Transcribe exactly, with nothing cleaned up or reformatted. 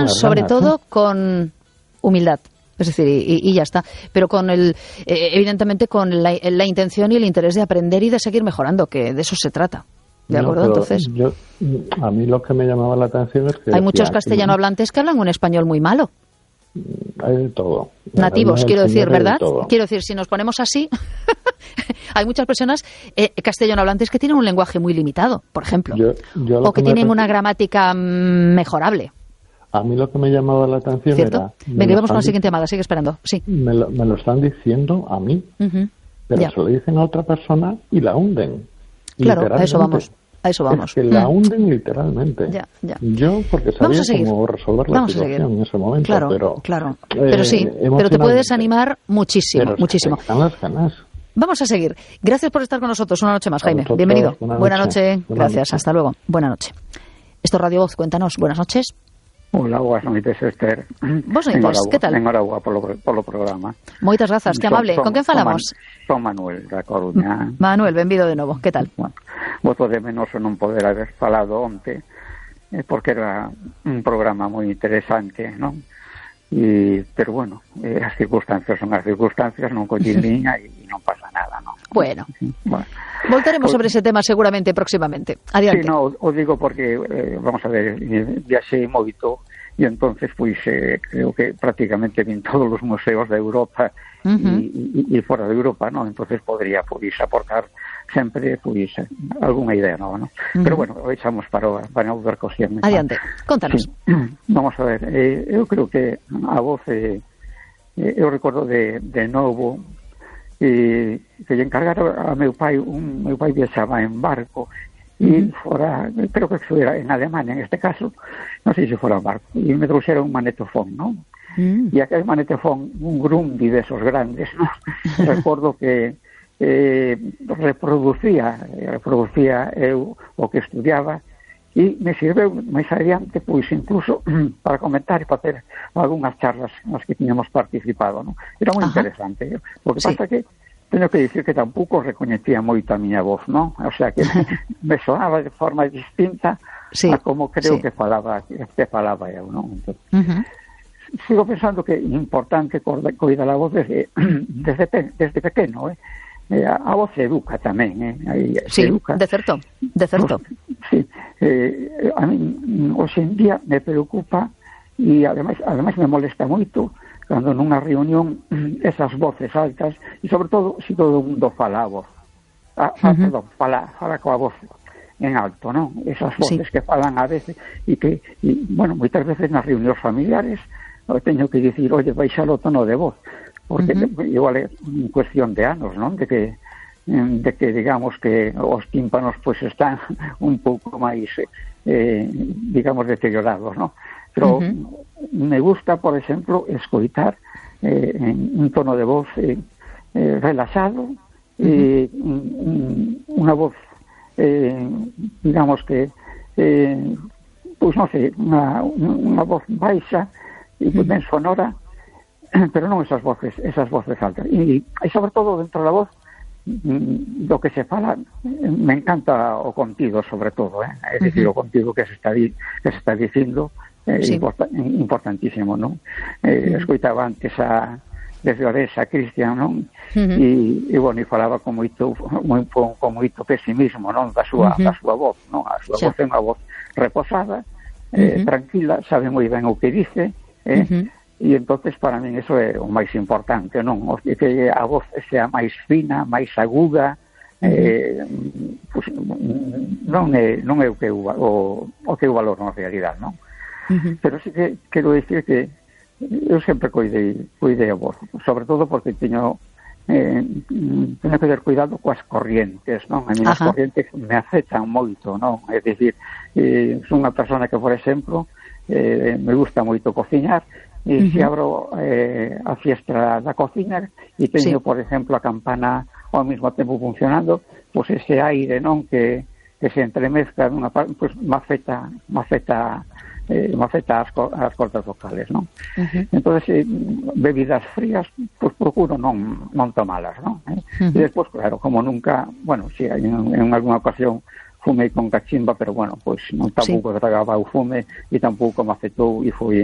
sobre todo con humildad. Es decir, y, y ya está. Pero con el, eh, evidentemente con la, la intención y el interés de aprender y de seguir mejorando, que de eso se trata. ¿De acuerdo? No, Entonces, yo, a mí lo que me llamaba la atención es que... hay muchos castellano hablantes que hablan un español muy malo. Hay de todo. Nativos, quiero decir, ¿verdad? De quiero decir, si nos ponemos así, hay muchas personas eh, castellano hablantes que tienen un lenguaje muy limitado, por ejemplo. Yo, yo o que, que tienen me... una gramática mejorable. A mí lo que me llamaba la atención ¿Cierto? era... Venga, vamos con la siguiente llamada, sigue esperando. Sí. Me lo, me lo están diciendo a mí, uh-huh. pero ya. se lo dicen a otra persona y la hunden. Claro, a eso vamos. A eso vamos. Es que la hunden mm. literalmente. Ya, ya. Yo, porque sabía cómo resolver la vamos situación en ese momento. Claro, pero, claro. Pero sí, eh, pero te puedes animar muchísimo, pero muchísimo. Se las ganas. Vamos a seguir. Gracias por estar con nosotros una noche más, Jaime. Nosotros, bienvenido. Buena noche. Buena noche. Buena Gracias. noche. Hasta luego. Buena noche. Esto es Radio Voz. Cuéntanos. Buenas noches. Hola, buenas noches, Esther. Vos noites, que tal? Enhorabuena polo, polo programa. Moitas grazas, que amable. Son, Con quen falamos? Son Manuel, da Coruña. Manuel, benvido de novo, que tal? Bueno, voto de menos non poder haber falado onte, eh, porque era un programa moi interesante, non? E, pero bueno, eh, as circunstancias son as circunstancias, non collín liña e non pasa nada, non? Bueno, bueno. Voltaremos o, sobre ese tema seguramente próximamente. Adiante. Sí, no, o digo porque, eh, vamos a ver, viaxei moito e entonces, pois, eh, creo que prácticamente vin todos os museos de Europa uh-huh. e fora de Europa, non? Entonces podría, pois, aportar sempre, pois, algunha idea nova, non? Uh-huh. Pero bueno, o echamos para, para outra cosión. Adiante, contanos. Sí. Vamos a ver, eh, eu creo que a voz, eh, eu recordo de, de novo, e que lle encargaron a meu pai, un meu pai viaxaba en barco e uh-huh. fora, creo que era en Alemania en este caso, non sei se fora en barco, e me trouxeron un manetofón, non? Uh-huh. E aquel manetofón, un Grundy desos grandes, non? Recordo que eh, reproducía reproducía eu o que estudiaba e me sirveu máis adiante, pois incluso para comentar e para hacer algunhas charlas nas que tiñamos participado, non? Era moi interesante, o que sí. pasa que teño que dicir que tampouco recoñecía moito a miña voz, non? O sea que me sonaba de forma distinta sí. a como creo sí. que falaba que falaba eu, non? Entón, uh-huh. sigo pensando que é importante coidar a voz desde, desde, desde pequeno, eh? A voz educa tamén, eh? Aí, sí, educa. de certo, de certo. Sí, eh, a mí hoxe en día me preocupa e ademais, ademais me molesta moito cando nunha reunión esas voces altas e sobre todo se todo o mundo fala a voz ah, uh-huh. perdón, fala, fala coa voz en alto, non? Esas voces sí. que falan a veces e que, e, bueno, moitas veces nas reunións familiares teño que dicir, oye, baixar o tono de voz porque uh-huh. igual é cuestión de anos, non? De que de que digamos que os tímpanos pois pues, están un pouco máis eh, digamos deteriorados, non? Pero uh-huh. me gusta, por exemplo, escoitar eh, en un tono de voz eh, eh, relaxado uh-huh. eh, unha voz eh, digamos que eh, pois non sei, unha, unha voz baixa e uh-huh. ben sonora, pero non esas voces, esas voces altas. E, e sobre todo dentro da voz do que se fala, me encanta o contido sobre todo, eh? É dicir, uh-huh. o contido que se está di, que se está dicindo é eh, sí. import, importantísimo, non? Eh, uh-huh. Escoitaba antes a desde Oresa, Cristian, non? Uh-huh. E, e bueno, e falaba con moito moi, con moito pesimismo, non? Da súa, uh-huh. da súa voz, non? A súa sí. voz é unha voz reposada, eh, uh-huh. tranquila, sabe moi ben o que dice, eh? Uh-huh. E entonces para min eso é o máis importante, non? O que a voz sea máis fina, máis aguda, uh-huh. eh, pues, non é non é o que eu, o, o que eu valoro na realidade, non? Uh-huh. Pero sí que quero dicir que eu sempre coidei, coidei a voz, sobre todo porque teño eh, teño que ter cuidado coas corrientes, non? A mí as corrientes me afectan moito, non? É dicir, eh, son unha persona que, por exemplo, eh, me gusta moito cociñar. E uh-huh. se abro eh, a fiestra da cociña e teño, sí. por exemplo, a campana ao mesmo tempo funcionando, pois ese aire, non, que, que se entremezcla nunha parte, pois me afecta, me afecta, eh, me afecta as, as cordas vocales, non? Uh-huh. Entonces, eh, bebidas frías, pois procuro non, non tomalas, non? Eh? Uh-huh. E despois, claro, como nunca, bueno, si sí, en, en alguna ocasión fumei con cachimba, pero bueno, pois non tampouco sí. tragaba o fume e tampouco me afectou e foi